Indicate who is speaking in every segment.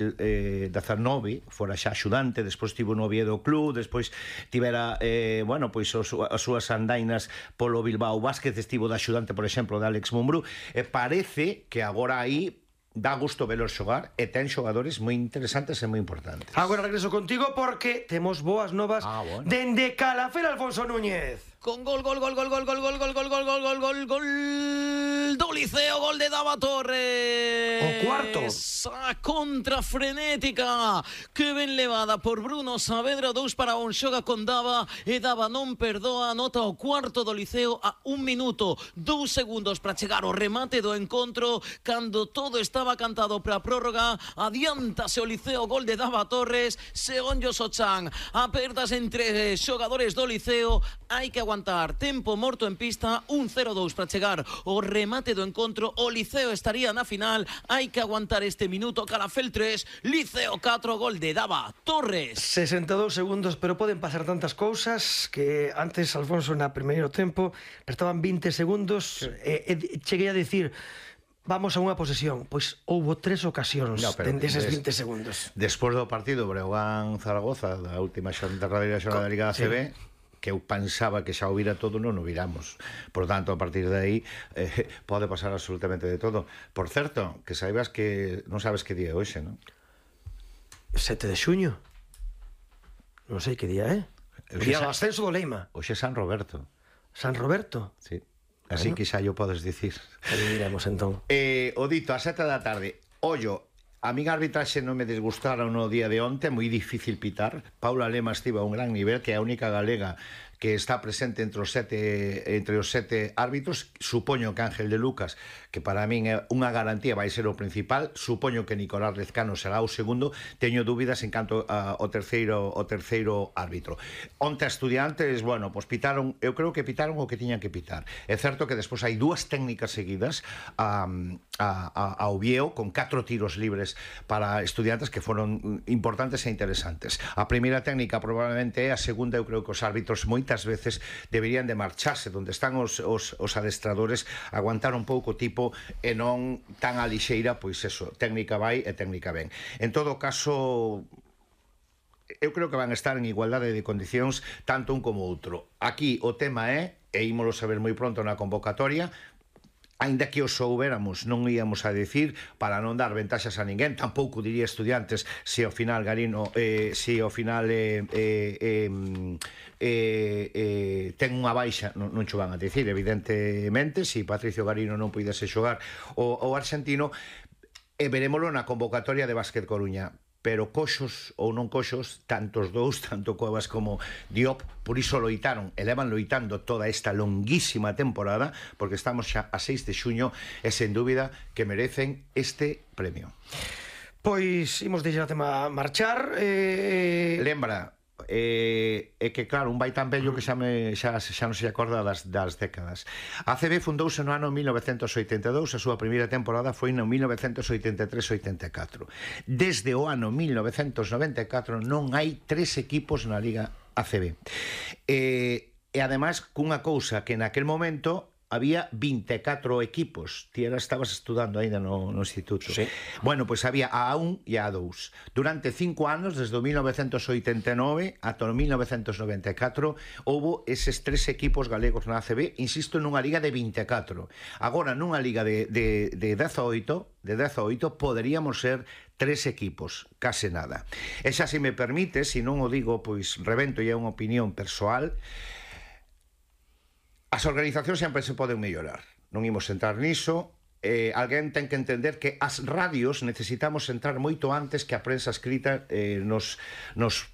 Speaker 1: 19 fora xa axudante, despois tivo no Oviedo Club, despois tivera pois as súas andainas polo Bilbao Basket, estivo de axudante, por exemplo, de Alex Mumbrú, e parece que agora aí dá gusto velos xogar e ten xogadores moi interesantes e moi importantes.
Speaker 2: Agora regreso contigo porque temos boas novas dende Calafell, Alfonso Núñez.
Speaker 3: Con gol do Liceo, gol de Dava Torres.
Speaker 2: O cuarto.
Speaker 3: A contra frenética que ben levada por Bruno Saavedra, 2-1, xoga con Dava e Dava non perdoa, anota o cuarto do Liceo a 1 minuto 2 segundos para chegar ao remate do encontro, cando todo estaba cantado para a prórroga. Adiántase o Liceo, gol de Dava Torres, Segonllo Sochan, apertas entre xogadores do Liceo, hai que aguantar tempo morto en pista, 1-0-2 para chegar o remate do encontro. O Liceo estaría na final, hai que aguantar este minuto. Calafell 3, Liceo 4, gol de Dava Torres.
Speaker 2: 62 segundos, pero poden pasar tantas cousas que antes, Alfonso, na primeiro tempo restaban 20 segundos e cheguei a dicir vamos a unha posesión, pois houbo 3 ocasións dende eses 20 segundos.
Speaker 1: Despois do partido Breogán-Zaragoza, da última derradeira xornada da Liga ACB, que eu pensaba que xa o vira todo, non o viramos. Por tanto, a partir de aí pode pasar absolutamente de todo. Por certo, que saibas que non sabes que día é hoxe, non?
Speaker 2: 7 de xuño. Non sei que día é. O día do ascenso do Leima.
Speaker 1: Hoxe é San Roberto.
Speaker 2: San Roberto?
Speaker 1: Sí. Así que xa yo podes dicir.
Speaker 2: Aí iremos entón.
Speaker 1: O dito, a 7 da tarde. Ollo, a min a arbitraxe non me desgustaron no día de onte, moi difícil pitar. Paula Lema estiva a un gran nivel, que é a única galega que está presente entre os 7 árbitros. Supoño que Ángel de Lucas, que para min é unha garantía, vai ser o principal. Supoño que Nicolás Lezcano será o segundo. Teño dúbidas en canto ao terceiro árbitro. Onte a Estudiantes, bueno, pois pitaron, eu creo que pitaron o que tiñan que pitar. É certo que despois hai 2 técnicas seguidas ao Vieo, con 4 tiros libres para Estudiantes que foron importantes e interesantes. A primeira técnica probablemente é, a segunda eu creo que os árbitros moitas veces deberían de marcharse donde están os adestradores, aguantar un pouco tipo e non tan a lixeira, pois eso, técnica vai e técnica ven. En todo caso, eu creo que van a estar en igualdade de condicións tanto un como outro. Aquí o tema é, e ímolo saber moi pronto na convocatoria, aínda que o soubéramos, non íamos a decir para non dar ventaxas a ninguén. Tampouco diría Estudiantes se ao final Garino ten unha baixa, non cho van a decir, evidentemente, se Patricio Garino non puidese xogar o argentino, e verémolo na convocatoria de Básquet Coruña. Pero coxos ou non coxos, tantos dous, tanto Cuevas como Diop, por iso loitaron, e levan loitando toda esta longuísima temporada, porque estamos xa a 6 de xuño, e sen dúbida que merecen este premio.
Speaker 2: Pois imos deixar o tema marchar.
Speaker 1: Lembra, é que claro, un vai tan bello que xa non se acorda das décadas. A ACB fundouse no ano 1982, a súa primeira temporada foi no 1983-84. Desde o ano 1994 non hai 3 equipos na Liga ACB. E ademais, cunha cousa que naquel momento había 24 equipos. Ti estabas estudando ainda no instituto.
Speaker 2: Sí.
Speaker 1: Bueno, pois había a A1 e a A2. Durante 5 anos, desde o 1989 ata o 1994, houbo eses 3 equipos galegos na ACB, insisto, nunha liga de 24. Agora, nunha liga de 18, poderíamos ser 3 equipos, case nada. E xa, se me permite, se non o digo, pois rebento e é unha opinión persoal, as organizacións sempre se poden mellorar. Non imos entrar niso. Alguén ten que entender que as radios necesitamos entrar moito antes que a prensa escrita nos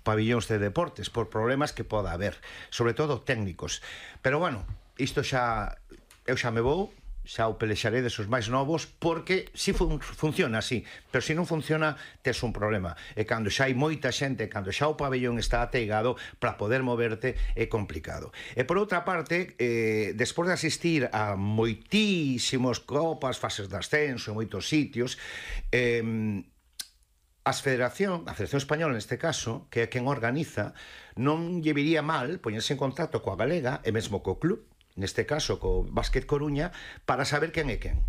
Speaker 1: pabillóns de deportes, por problemas que poda haber, sobre todo técnicos. Pero bueno, isto xa, eu xa me vou, xa o pelexaré desos máis novos, porque si funciona así, pero se non funciona tes un problema. E cando xa hai moita xente, cando xa o pabellón está ateigado, para poder moverte é complicado. E por outra parte, despois de asistir a moitísimos copas, fases de ascenso en moitos sitios, a Federación Española neste caso, que é quen organiza, non lle viría mal poñerse en contacto coa galega e mesmo co club, neste caso co Básquet Coruña, para saber quen é quen.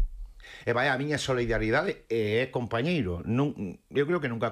Speaker 1: E vai a miña solidaridade, e é compañeiro. Eu creo que nunca